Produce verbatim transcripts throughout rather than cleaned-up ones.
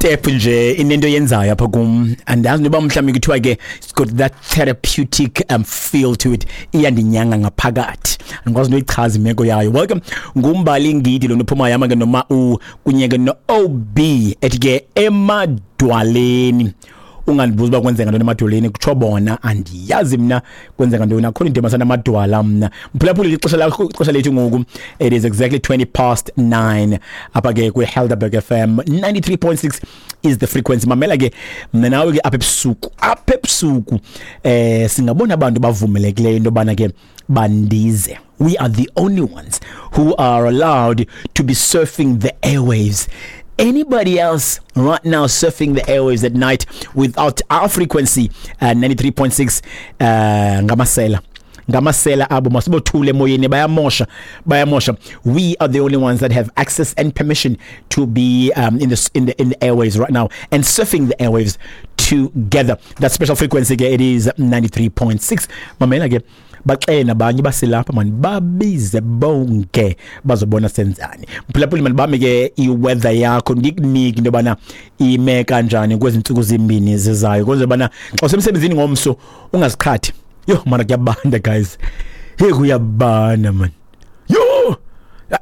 Step nje inento yenzayo apha kum, andazi noba mhlawumbi kuthiwa ke it's got that therapeutic um, feel to it. Iyandinyanga ngaphakathi, andikwazi noyichaza imeko yayo. Welcome, nguMbali Ngidi lo nophumayo ama ke noma u kunye ke no-O B ethi ke "Emadwaleni". Ungandibuza uba kwenzeka ntoni emadwaleni, kutsho bona, andiyazi mna kwenzeka ntoni. Akho into emasana amadwala mna. Mphulaphuli, ixesha lakho, ixesha lethu ngoku, it is exactly twenty past nine apha ke kwi-Helderberg F M, ninety-three point six is the frequency. Mamela ke, mna nawe ke apha ebusuku, apha ebusuku eh singabona abantu bavumelekileyo into yobana ke bandize. We are the only ones who are allowed to be surfing the airwaves. Anybody else right now surfing the airwaves at night without our frequency, uh, ninety-three point six, uh, ngamasela, ngamasela abo. Masibothule emoyeni, bayamosha, bayamosha. We are the only ones that have access and permission to be um, in the in the in the airwaves right now and surfing the airwaves together. That special frequency ke, it is ninety-three point six. Mamela ke, baxele nabanye baselapha mani, babize bonke bazobona senzani. Mphulaphuli, mani bami ke, iweather yakho ndikunike into yobana ime kanjani kwezi ntsuku zimbini zizayo, kwenze bana xa usemsebenzini ngomso ungaziqhathi. Yo mana, kuyabanda guys, hey, kuyabanda man. Yo,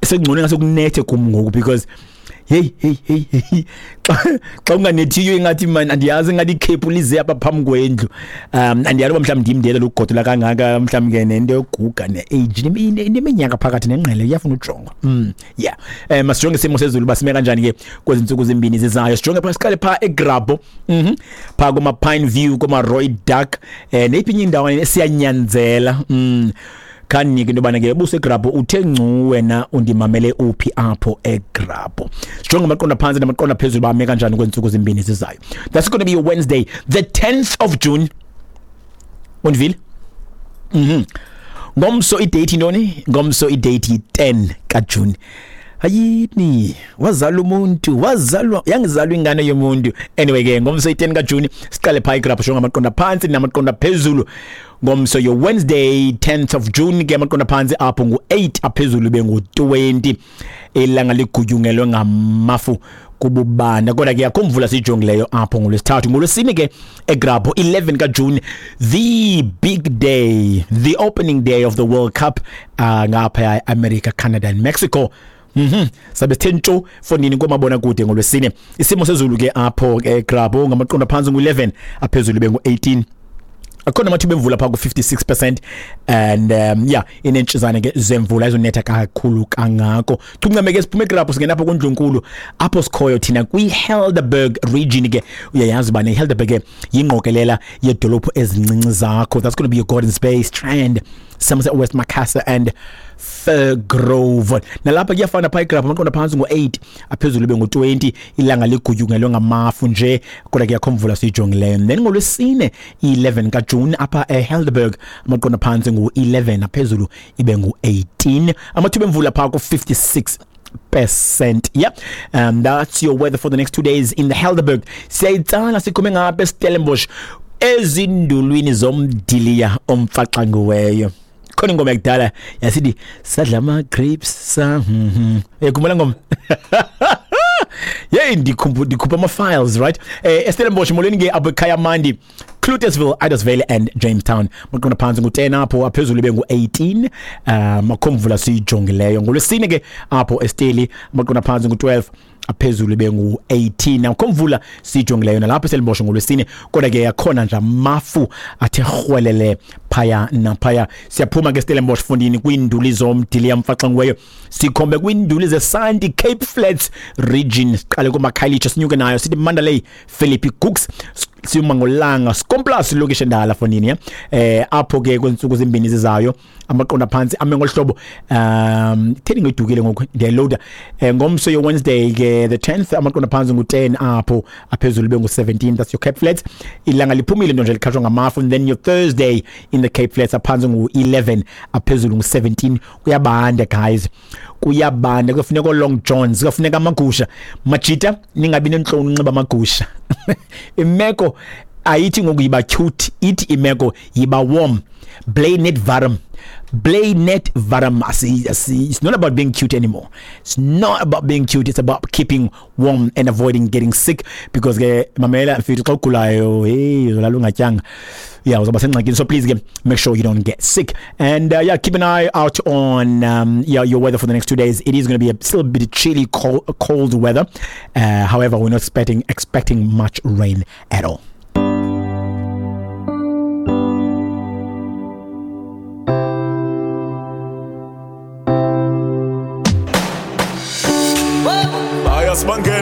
sekungcono ngase kunethe kum ngoku because hey, hey, hey, hey, xa xa unganethiyo ingathi man, andiyazi, ingathi ikhephu lize apha phambi kwendlu. um andiyazi uba mhlawumbi ndim ndiyela lokugodola kangaka, mhlawumbi ke nento yoguga ne-age neminyaka phakathi nengqele iyafuna ujongwa. mm yeah um masijonge isimo sezulu basime kanjani ke kwezi ntsuku zimbini zizayo. Sijonge phaa, siqale phaa eGrabho, mhm phaa kuma-Pine View, kuma-Rooidak, um neyiphi inye indawo siyanyanzela. mm khanike into yobana ke buseGrabho uthe ngcu wena, undimamele uphi apho eGrabho? Sijonge amaqondo phantsi namaqondo phezulu bame kanjani kweentsuku zimbini zizayo. That's going to be Wednesday the tenth of June. Undivile? mhm ngomso idate intoni? Ngomso idate yi-ten kaJune. Hayini, wazalwa umuntu, wazalwa, yangizalwa ingane yomuntu. Anyway ke, ngomso i-ten kaJune, siqale phaa iGrabho, shonga amaqondo phansi namaqondo phezulu. Ngomso yo Wednesday tenth of June ke, amaqondo phansi apho ngu-eight, aphezulu bengu-twenty. Ilanga ligutyungelwe ngamafu kububanda, kodwa ke akho mvula siyijongileyo apho ngolwesithathu. Ngolwesine ke eGrabho, eleven kaJune, the big day, the opening day of the World Cup uh, ngapha eAmerica, Canada and Mexico. Mhm sabe sithe ntsho fondini komabona kude ngolwesine. Isimo sezulu ke apho ke eGrabho, ngamaqondo phansi ngu-eleven, aphezulu bengu-eighteen. Akhona amathuba emvula phaa ku-fifty-six percent and um, yeah, inentshizane ke zemvula ezonetha kakhulu kangako. Chuncame ke, siphume eGrabho, singena apho kundlunkulu apho sikhoyo thina kwi-Helderberg region ke. Uyayazi uba ne-Helderberg ke yingqokelela yedolophu ezincinci zakho. That's going to be your Gordons Bay, Strand, Somerset West, Macassar and Firgrove. Nalapha kuyafana phaa iGrabho, amaqondo phantsi ngu-eight, aphezulu bengu-twenty. Ilanga ligutyungelwe ngamafu nje, kodwa kuyakho mvula siyijongileyo. Then ngolwesine i-eleven kaJune apha eHelderberg, amaqondo phantsi ngu-eleven, aphezulu ibe ngu-eighteen, amathuba emvula phaa ku-fifty-six percent. Yeah, um that's your weather for the next two days in the Helderberg. Siyayitsala, sikhume ngapha eStellenbosch, ezindulwini zomdiliya omfaxangiweyo. Khona ingoma yakudala yasithi "Sadla ama grapes" sa mhm uyakhumbula ngoma? Yey, ndikhupha ndikhupha ama files, right? eh eStellenbosch, molweni ke apho ekhaya mandi, Cloetesville, Idasvale and Jamestown. Maqondo phantsi ngu-ten apho, aphezulu bengu-eighteen. um akho mvula siyijongileyo. Ngolwesine ke apho eSteli, amaqondo phantsi ngu-twelve, aphezulu bengu-eighteen. Akho mvula siyijongileyo nalapho eStellenbosch ngolwesine, kodwa ke akhona nje amafu athe rhwelele phaya naphaya. Siyaphuma ke Stellenbosch fundini kwiinduli zomdiliya mfaxangiweyo, sikhombe kwiinduli zesanti, Cape Flats region. Siqale kumakhayelitsha, sinyuke nayo sithi Mandalay, Philippi, Cooks, siyuma ngolanga Skomplaas, lokishi endala fondini. eh apho ke kwentsuku zimbini zizayo, amaqondo phantsi ame ngolhlobo. um theni ngidukile ngoku, ndiyaloada. eh ngomso yo Wednesday ke the tenth, amaqondo phantsi ngu-ten apho, aphezulu bengu-seventeen. That's your Cape Flats. Ilanga liphumile nto nje likhatshwa ngamafu. And then your Thursday in the Cape Flats, aphantsi ngu-eleven, aphezulu ngu-seventeen. Kuyabanda guys, kuyabanda, kufuneka long johns, kufuneka amagusha. Majita, ningabi nentloni unxiba amagusha. Imeko ayithi ngoku yiba cute, ithi imeko yiba warm, bly net warm. Bly net warm. It's not about being cute anymore. It's not about being cute. It's about keeping warm and avoiding getting sick, because ke mamela mfethu, xa ugulayo, hey, uzolala ungatyanga. Yeah, uzawuba sengxakini. So please ke, make sure you don't get sick. And uh, yeah, keep an eye out on um, yeah, your weather for the next two days. It is going to be a still a bit chilly, cold, cold weather. Uh, however, we're not expecting expecting much rain at all. Bayasibangena.